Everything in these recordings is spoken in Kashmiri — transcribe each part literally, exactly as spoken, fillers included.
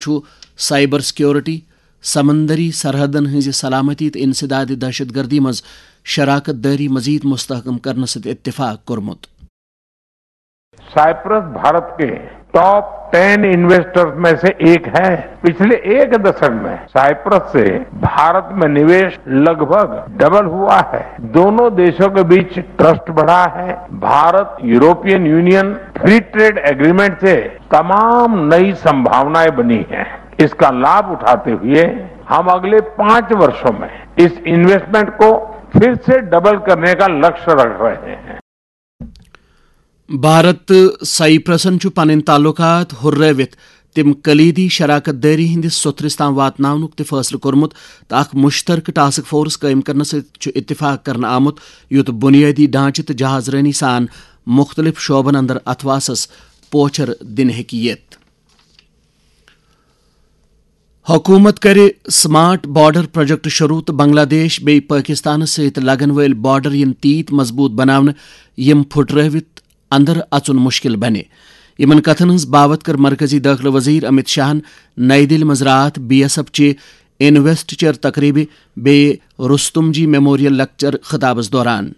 چھُ سائبر سیکیورٹی، سمندری سرحدن ہٕنٛزِ سلامتی تہٕ انسداد دہشت گردی منٛز شراکت دٲری مزید مستحکم کرنس سۭتۍ اتفاق کوٚرمُت۔ साइप्रस भारत के टॉप टेन इन्वेस्टर्स में से एक है। पिछले एक दशक में साइप्रस से भारत में निवेश लगभग डबल हुआ है। दोनों देशों के बीच ट्रस्ट बढ़ा है। Bharat European union free trade agreement से तमाम नई संभावनाएं बनी हैं। इसका लाभ उठाते हुए हम अगले पांच वर्षों में इस इन्वेस्टमेंट को फिर से डबल करने का लक्ष्य रख रहे हैं। بھارت تہٕ سائپرسن چھُ پنٕنۍ تعلقات ہُررٲوِتھ تِم کلیدی شراکت دٲری ہٕنٛدِس سوٚتھرِس تام واتناونُک تہِ فٲصلہٕ کوٚرمُت تہٕ اکھ مشترکہٕ ٹاسک فورس قٲیِم کرنس سۭتۍ چھُ اتفاق کرنہٕ آمُت، یُتھ بنیٲدی ڈھانچہٕ تہٕ جہاز رٲنی سان مُختٔلِف شعبن اندر اتھواسس پوچھر دِنہٕ ہیٚکہِ یِتھ۔ حکومت کرِ سمارٹ بارڈر پروجیکٹ شروع تہٕ بنگلہ دیش بیٚیہِ پٲکستانس سۭتۍ لگن وٲلۍ بارڈر یِن تیٖتۍ مضبوٗط بناونہٕ، یِم پھُٹرٲوِتھ اندر اژُن مشکل بنہِ۔ یِمن کتھن ہٕنٛز باوتھ کٔر مرکزی دٲخلہٕ وزیر امت شاہن نئی دِلہِ منٛز راتھ بی ایس ایف چہِ انویسٹچر تقریبہِ بیٚیہِ رستم جی میموریل لیکچر خطابس دوران۔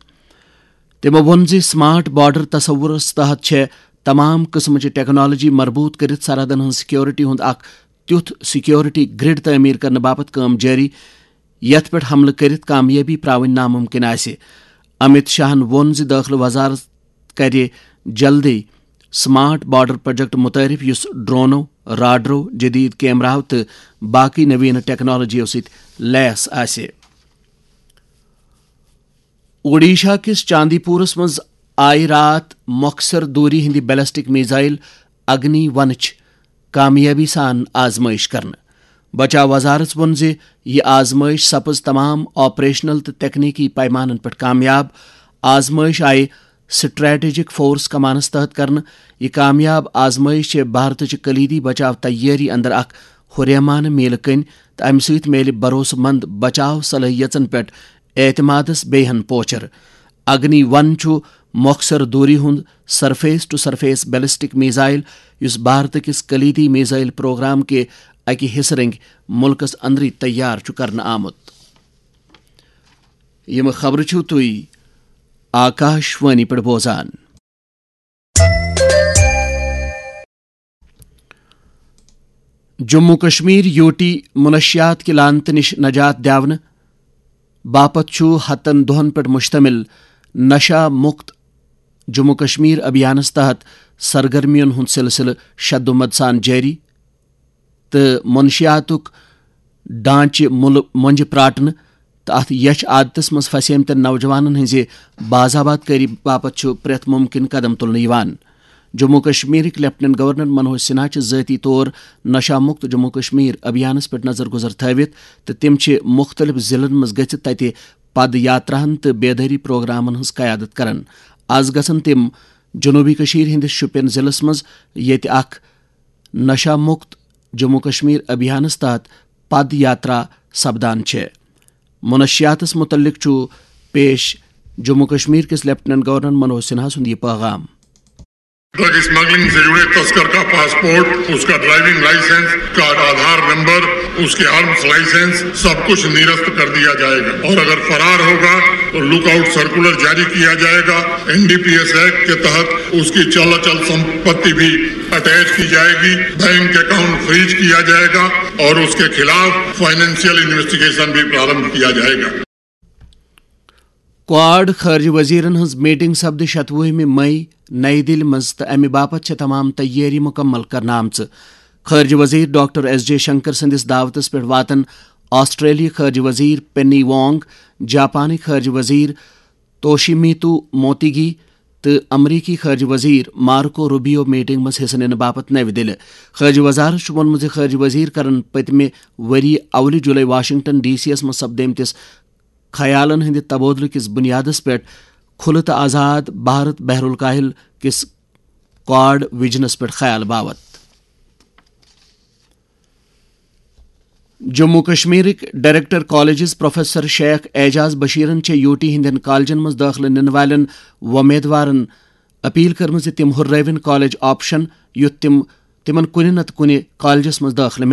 تِمو ووٚن زِ سمارٹ بارڈر تصورس تحت چھےٚ تمام قٕسمٕچہِ ٹیکنالوجی مربوط کٔرِتھ سرحدن ہٕنٛز سیکیورٹی ہُنٛد اکھ تیُتھ سیکیورٹی گرڈ تعمیٖر کرنہٕ باپتھ کٲم جٲری، یتھ پٮ۪ٹھ حملہٕ کٔرِتھ کامیٲبی پراوٕنۍ ناممکن آسہِ۔ امت شاہن ووٚن زِ دٲخلہٕ وزارت کرِ جلدی سمارٹ بارڈر پروجیکٹ متعارف، یُس ڈرونو، راڈرو، جدید کیمراہو تہٕ باقی نوینہٕ ٹیکنالوجیو سۭتۍ لیس آسہِ۔ اوڈیشہ کِس چاندی پورس منٛز آیہِ راتھ مۄخصر دوٗری ہٕنٛدِ بیلسٹک میزائل اگنی ونٕچ کامیٲبی سان آزمٲیش کرنہٕ۔ بچاو وزارت ووٚن زِ یہِ آزمٲیش سپٕز تمام آپریشنل تہٕ تکنیکی پیمانن پٮ۪ٹھ کامیاب۔ آزمٲیش آیہِ سٹریٹجک فورس کمانس تحت کرنہٕ۔ یہِ کامیاب آزمٲیش چھےٚ بھارتٕچہِ کلیدی بچاو تیٲری اندر اکھ ہُریمانہٕ میلہٕ کٔنۍ تہٕ امہِ سۭتۍ میلہِ بھروسہٕ مند بچاو صلٲحیژن پٮ۪ٹھ اعتمادس بیٚیہِ ہن پوچھر۔ اگنی ون چھُ مۄخصر دوٗری ہُنٛد surface to surface ballistic missile, یُس بھارت کِس کلیدی میزائل پروگرام کہِ اکہِ حصہٕ رنگۍ مُلکس اندرٕے تیار چھُ کرنہٕ آمُت۔ یِم خبرٕ چھِو تُہۍ آکاش وانی پٮ۪ٹھ بوزان۔ جموں کشمیر یوٹی منشیات کہِ لعنتہٕ نِش نجات دِنہٕ باپتھ چھُ ہتن دۄہن پٮ۪ٹھ مشتمل نشہ مکت جموں کشمیر ابھیانس تحت سرگرمیَن ہُنٛد سلسلہٕ شدومد سان جٲری تہٕ منشیاتُک ڈھانچہٕ مُلہٕ مۄنجہِ پراٹنہٕ تہٕ اتھ یچھ عادتس منٛز پھسیمتٮ۪ن نوجوانن ہٕنٛزِ باز آباد کٲری باپتھ چھُ پرٛٮ۪تھ مُمکِن قدم تُلنہٕ یِوان۔ جموں کشمیرٕکۍ لیفٹیننٹ گورنر منوج سنہا چھِ ذٲتی طور نشہ مکت جموں کشمیر ابھیانس پٮ۪ٹھ نظر گزر تھٲوِتھ تہٕ تِم چھِ مُختٔلِف ضلعن منٛز گٔژھِتھ تتہِ پد یاتراہن تہٕ بیدٲری پروگرامن ہٕنٛز قیادت کران۔ از گژھن تِم جنوبی کشمیر ہٕنٛدِس شوپین ضلعس منٛز، ییٚتہِ اکھ نشہ مکت جموں کشمیر ابھیانس تحت پد یاترا سپدان چھےٚ۔ منشیاتس متعلق چھُ پیش جموں کشمیر کِس لیفٹیننٹ گورنر منوج سنہا سُنٛد یہِ پیغام۔ ڈرگ اسمگلنگ سے جڑے تسکر کا پاسپورٹ، اس کا ڈرائیونگ لائسنس، اس کا آدھار نمبر، اس کے آرمز لائسنس، سب کچھ نرست کر دیا جائے گا اور اگر فرار ہوگا تو لک آؤٹ سرکولر جاری کیا جائے گا۔ N D P S act کے تحت اس کی چل اچل سمپتی بھی اٹیچ کی جائے گی، بینک اکاؤنٹ فریز کیا جائے گا اور اس کے خلاف فائنینشیل انویسٹیگیشن بھی پرارمبھ کیا جائے گا۔ کواڈ خارجہ وزیرن ہٕنٛز میٹنگ سپدِ شتوُہمہِ مئی نئی دِلہِ منٛز تہٕ امہِ باپتھ چھےٚ تمام تیٲری مُکمل کرنہٕ آمژٕ۔ خارجہ وزیر ڈاکٹر ایس جے شنکر سٕنٛدِس دعوتس پٮ۪ٹھ واتن آسٹریلوی خارجہ وزیر پینی وانگ، جاپانٕکۍ خارجہ وزیر توشیمیتو موتیگی تہٕ امریکی خارجہ وزیر مارکو روبیو میٹنگ منٛز حصہٕ نِنہٕ باپتھ نَوِ دِلہِ۔ خارجہ وزارت چھُ ووٚنمُت زِ خارجہ وزیر کرن پٔتمہِ ؤری اولہِ جولائی واشنگٹن ڈی سی یَس منٛز سپدیمتِس خیالن ہٕنٛدِ تبادلہٕ کِس بُنیادس پٮ۪ٹھ کھُلہٕ تہٕ آزاد بھارت بحر الکاہل کِس کواڈ ویژنس پٮ۪ٹھ خیال باوت۔ جموں کشمیرٕکۍ director colleges professor Sheikh Ajaz بشیرن چھےٚ یوٹی ہٕنٛدٮ۪ن کالجن منٛز دٲخلہٕ نِنہٕ والٮ۪ن وۄمیدوارن اپیل کٔرمٕژ زِ تِم ہُررٲوِن کالج آپشن، یُتھ تِم تِمن کُنہِ نتہٕ کُنہِ کالجس منٛز دٲخلہٕ میلہِ۔